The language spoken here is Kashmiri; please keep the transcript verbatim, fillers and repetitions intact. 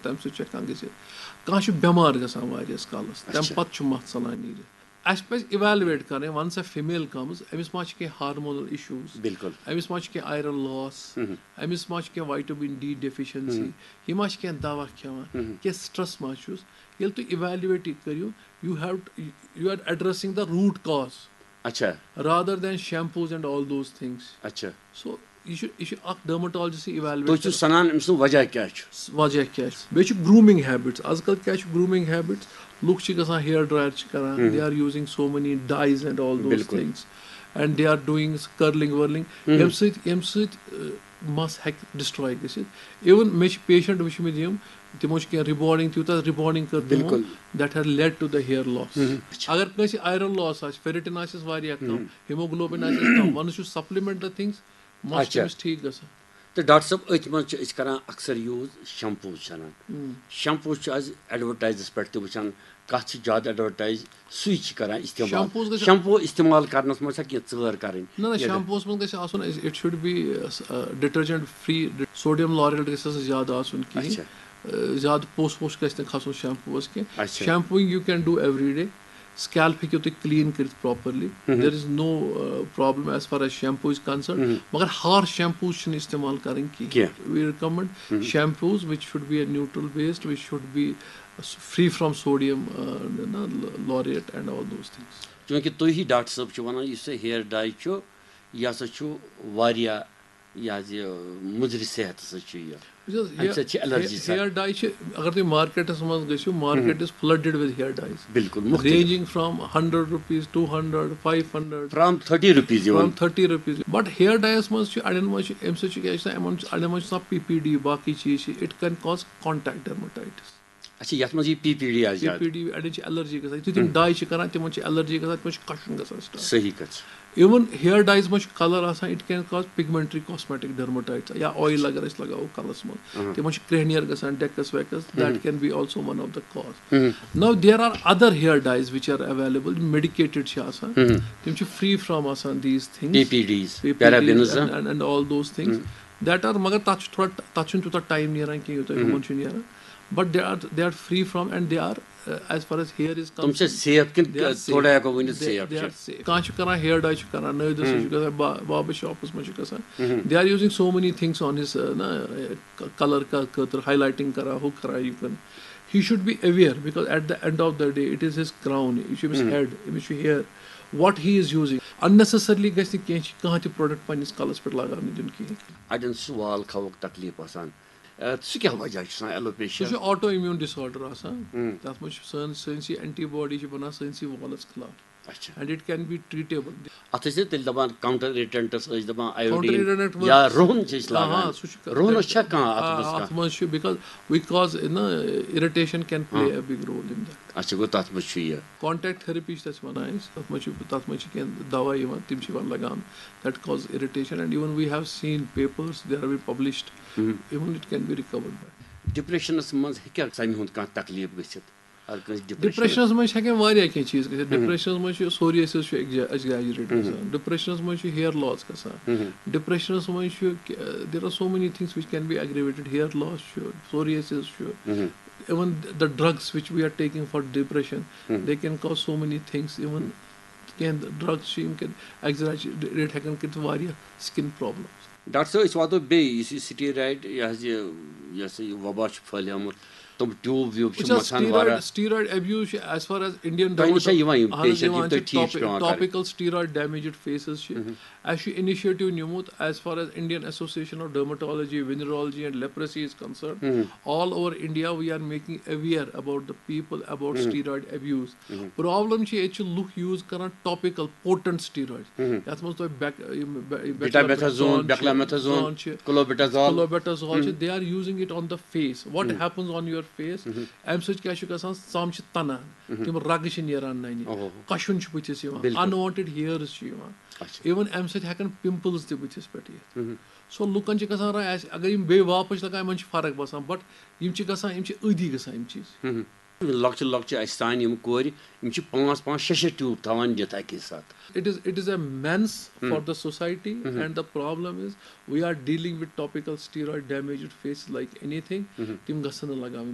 تَمہِ سۭتۍ چھُ ہٮ۪کان گٔژھِتھ۔ کانٛہہ چھُ بٮ۪مار گژھان واریاہَس کالَس، تَمہِ اچھا۔ پَتہٕ چھُ مَس ژَلان نیٖرِتھ۔ اَسہِ پَزِ evaluate کَرٕنۍ، once a female comes، أمِس ما چھِ کینٛہہ hormonal issues، بِلکُل۔ أمِس ما چھِ کینٛہہ iron loss، مہم۔ أمِس ما چھِ کینٛہہ vitamin D deficiency، مہم۔ یہِ ما چھِ کینٛہہ دَوا کھٮ۪وان، مہم۔ کینٛہہ stress ما چھُس۔ ییٚلہِ تُہۍ evaluate یہِ کٔرِو، you have to, you are addressing the root cause اچھا۔ rather than shampoos and all those things۔ اچھا۔ So، یہِ چھُ، یہِ چھُ اکھ dermatologist evaluate تُہۍ چھِو کران۔ سَنان أمۍ سُنٛد وجہ کیٛاہ چھُ؟ وجہ کیٛاہ چھُ؟ بیٚیہِ چھُ grooming habits۔ آز کل کیٛاہ چھُ grooming habits؟ لُکھ چھِ گژھان hair dryer چھِ کران، ہم۔ They are using so many dyes and all those بِلکُل۔ Things and they are doing curling whirling, hmm. ییٚمہِ سۭتۍ، ییٚمہِ سۭتۍ، ٲہ، مَس ہیٚکہِ destroy گٔژھِتھ۔ Even مےٚ چھِ patient وٕچھمٕتۍ یِم، تِمو چھِ کینٛہہ rebonding، تیوٗتاہ rebonding کٔر تِمو، بِلکُل۔ That has led to the hair loss۔ ہم۔ اگر کٲنٛسہِ iron loss آسہِ، ferritin آسٮ۪س واریاہ کم، ہم۔ Hemoglobin آسٮ۪س کم، once you supplement the things، مَس چھُ اچھا۔ تٔمِس ٹھیٖک گژھان۔ تہٕ ڈاکٹر صٲب، أتھۍ منٛز چھِ أسۍ کران اکثر use shampoos چھِ اَنان۔ ہم۔ Shampoos چھِ أسۍ advertiseس پٮ۪ٹھ تہِ وٕچھان، کَتھ چھِ زیادٕ advertise، سُے چھِ کران استعمال۔ Shampoos گژھِ shampoo استعمال کرنَس منٛز چھا کینٛہہ ژٲر کرٕنۍ؟ نہ، نہ، یا shampoos منٛز گژھِ آسُن، it should be detergent free، sodium lauryl گژھِ نہٕ زیادٕ آسُن کِہیٖنۍ۔ اچھا۔ زیادٕ پوٚس ووٚس گژھِ نہٕ کھسُن shampoos کینٛہہ۔ اچھا۔ Shampooing you can do every day۔ Scalp ہیٚکِو تُہۍ clean کٔرِتھ properly۔ مہم۔ There is no problem as far as shampoo is concerned۔ مہم۔ مگر harsh shampoos چھِنہٕ استعمال کرٕنۍ کینٛہہ۔ کینٛہہ۔ We recommend shampoos which should be a neutral based, which should be free from sodium، نہ، lauryl and all those things۔ چوٗنٛکہِ تُہی ڈاکٹر صٲب چھِو وَنان، یُس یہِ hair dye چھُ، یہِ ہسا چھُ واریاہ، یہِ حظ یہِ مُضرِ صحتَس سۭتۍ چھُ یہِ۔ وٕچھ حظ، اَمہِ سۭتۍ چھِ allergy سَ- hair dye چھِ، اگر تُہۍ مارکیٹَس منٛز گٔژھِو، market is flooded with hair dyes۔ بِلکُل، مُختٔلِف۔ Ranging from hundred rupees, two hundred, five hundred۔ From thirty rupees even۔ From thirty rupees۔ But hair dyeَس منٛز چھِ اَڑٮ۪ن منٛز چھِ، اَمہِ سۭتۍ چھُ کیٛاہ چھُ آسان، یِمَن چھُ، اَڑٮ۪ن منٛز چھُ آسان P P D، باقٕے چیٖز چھِ، it can cause contact dermatitis۔ اچھا، یَتھ منٛز یہِ P P D آسہِ زیادٕ۔ P P D، اَڑٮ۪ن چھِ allergy گژھان، یُتھُے تِم ہم۔ Dye چھِ کران، تِمن چھِ allergy گژھان، تِمن چھُ کشُن گژھان start۔ صحیح کَتھ چھِ۔ Even hair dyes منٛز چھُ colour آسان، it can cause pigmentary cosmetic dermatitis، یا oil اگر أسۍ لگاوو کَلَس منٛز، اہم۔ تِمن چھُ کرٛیٚہنیر گژھان، ڈیکس ویکس، that اہم۔ Can be also one of the cause۔ اہم۔ Now there are other hair dyes which are available، medicated چھِ آسان، اہم۔ تِم چھِ free from آسان these things، P P Ds، P P Ds parabens، and, and, and all those things۔ اہم۔ That are، مگر تَتھ چھُ تھوڑا، تَتھ چھُنہٕ تیوٗتاہ time نیران کینٛہہ، یوٗتاہ اہم۔ ہُمن چھُ نیران۔ But they are, they are free from and they are, uh, as far as hair is تِم چھِ concerned، safe کِنہٕ they are safe۔ تھوڑا ہٮ۪کو ؤنِتھ They, safe they چھِ؟ Are safe۔ کانٛہہ چھُ کران hair dye چھُ کران، نٲوۍ دۄہ سُہ ہم۔ چھُ گژھان با-، بابا شاپس منٛز چھُ گژھان۔ ہم۔ They are using so many things on his, uh, نہ، uh، colour کا خٲطرٕ، highlighting کران، ہُہ کران، یہِ کران۔ He should be aware because at the end of the day it is his crown، یہِ چھُ أمِس ہم۔ Head، أمِس چھُ hair۔ What he is using، unnecessarily گژھِ نہٕ کینٛہہ، کانٛہہ تہِ product پننِس کلس پٮ۪ٹھ لگاونہٕ دیُن کِہیٖنۍ۔ اَڑٮ۪ن چھُ وال کھووُک تکلیٖف آسان۔ اَتھ سُہ کیٛاہ وجہ چھُ آسان alopecia؟ سُہ چھُ auto immune disorder آسان۔ ہم۔ تَتھ منٛز چھُ سٲنۍ، سٲنۍ سی antibody چھِ بَنان سٲنۍ سی والَس خلاف۔ اچھا۔ And it can be treatable۔ اَتھ ٲسۍ نہٕ تیٚلہِ دَپان counter irritants، ٲسۍ دَپان counter iodine irritant یا منٛز رُہُن چھِ أسۍ آ، لاگان۔ آ، سُہ چھُ رُہُنَس چھا کانٛہہ اَتھ آ، منٛز اَتھ کانٛہہ؟ منٛز چھُ because، because، نہ، irritation can play ہاں۔ A big role in that۔ اچھا، گوٚو تَتھ منٛز چھُ یہِ۔ Contact therapy چھِ تَتھ وَنان أسۍ، تَتھ منٛز چھِ، تَتھ منٛز چھِ کینٛہہ دَوا یِوان، تِم چھِ یِوان لَگاونہٕ۔ That cause irritation and even we have seen papers, they have been published، Hum. Even it can be recovered by۔ Depressionس منٛز ہیٚکیٛاہ ژَمہِ ہُنٛد کانٛہہ تکلیٖف گٔژھِتھ؟ اگر کٲنٛسہِ depression Depressionس منٛز چھِ ہٮ۪کان واریاہ کینٛہہ چیٖز گٔژھِتھ۔ ہم۔ Depressionس منٛز چھُ psoriasis چھُ exaggerate ہم۔ گژھان، depressionس منٛز چھُ hair loss گژھان، ہم۔ Depressionس منٛز چھُ، there are so many things which can be aggravated، hair loss چھُ، psoriasis چھُ، ہم۔ Even the drugs which we are taking for depression، Hum. They can cause so many things، even کینٛہہ drugs چھِ، یِم کینٛہہ exaggerate ہٮ۪کان کٔرِتھ واریاہ skin problems۔ ڈاکٹر صٲب، أسۍ واتو بیٚیہِ، یُس یہِ steroid، یہِ حظ یہِ، یہِ ہسا یہِ وبا چھُ پھٔہلیومُت، تِم tube ویوب چھِ وٕچھ حظ، مَتھان steroid، واریاہ۔ Steroid abuse چھِ as far as Indian تۄہہِ نِش چھا dermato-، یِوان یِم اہن حظ، patient، یِم یِوان تۄہہِ چھِ ٹھیٖک چھِ topic-، پٮ۪وان کَرٕنۍ؟ Topical steroid damaged faces چھِ۔ مہم۔ اَسہِ چھُ initiative نیومُت as far as Indian Association of Dermatology, Venereology and Leprosy is concerned۔ مہم۔ All over India we are making aware about the people about مہم۔ Steroid abuse۔ مہم۔ Problem چھِ، ییٚتہِ چھِ لُکھ use کران topical potent steroid۔ مہم۔ یَتھ منٛز تۄہہِ بیک-، یِم بے-، یِم Betamethasone، beclomethasone چھِ، beclomethasone، zone چھِ، clobetasol۔ Clobetasol چھِ، مہم۔ They are using it on the face۔ What مہم۔ Happens on your face؟ مہم۔ اَمہِ سۭتۍ کیٛاہ چھُ گژھان؟ ژَم چھِ تَنان، مہم۔ تِم رَگہٕ چھِ نیران نَنہِ، اوہو۔ کَشُن چھُ بٕتھِس یِوان، بِلکُل۔ Unwanted hairs چھِ یِوان۔ اچھا۔ Even اَمہِ سۭتۍ ہٮ۪کَن pimples تہِ بٕتھِس پٮ۪ٹھ یِتھ۔ مہم۔ So لُکَن چھِ گژھان راے، اَسہِ اگر یِم بیٚیہِ واپَس چھِ لَگان، یِمَن چھِ فرق باسان، but یِم چھِ گژھان، یِم چھِ أدی گژھان یِم چیٖز۔ مہم۔ لۄکچہِ لۄکچہِ اَسہِ سانہِ یِم کورِ، یِم چھِ پانٛژھ پانٛژھ شےٚ شےٚ tube تھاوان نِتھ اَکی ساتہٕ۔ It is, it is a menace for مہم۔ The society مہم۔ And the problem is we are dealing with topical steroid damaged faces like anything۔ مہم۔ تِم گژھن نہٕ لگاوٕنۍ۔